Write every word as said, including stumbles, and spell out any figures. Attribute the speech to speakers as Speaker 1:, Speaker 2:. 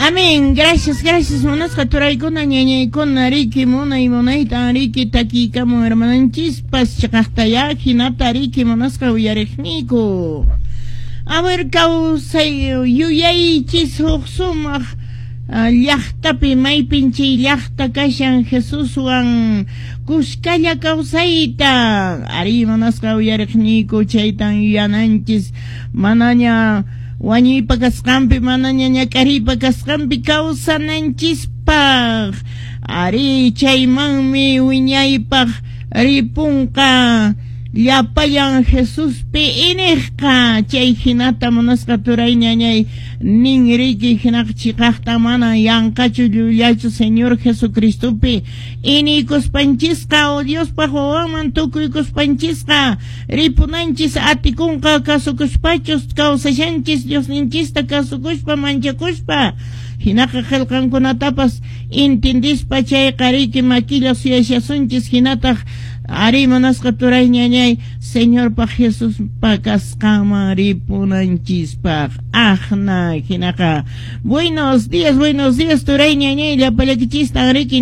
Speaker 1: Amén. Gracias, gracias. Munasqa turaykuna, ñañaykuna, riki, munay, munaytan, riki, takikamun, hermananchispas, chiqaqtayá, hinata, riki, munasqa uyariqniyku. A ver, kawsay, yuyaychis huk sumaq llaqtapi maypin chay llaqta kashan Jesuswan kuskalla kawsayta ari munasqa uyariqniyku chaytan yuyananchis manaña wañuypa kasqanpi manaña ñak'ariypa kasqanpi kawsananchispaq ari chaymanmi wiñaypaq ripunqa llapallan Jesuspi iniqqa chay hinata munasqa turay ñañay nin riki hinaqa chiqaqta mana yanqachu llullachu Señor Jesucristopi iniykuspanchisqa o Diospaq wawanman tukuykuspanchisqa ripunanchis atikunqa kasukuspachus kawsashanchis Diosninchista kasukuspa manchakuspa hinaqa qillqankunatapas intindispa chayqa riki makilla suyashasunchis hinataq ari munasqa turay ñañay Señorpaq Jesuspa kasqanman ripunanchispaq aqna hinaqa buenos días buenos días turay ñañay llapallaykichistan riki.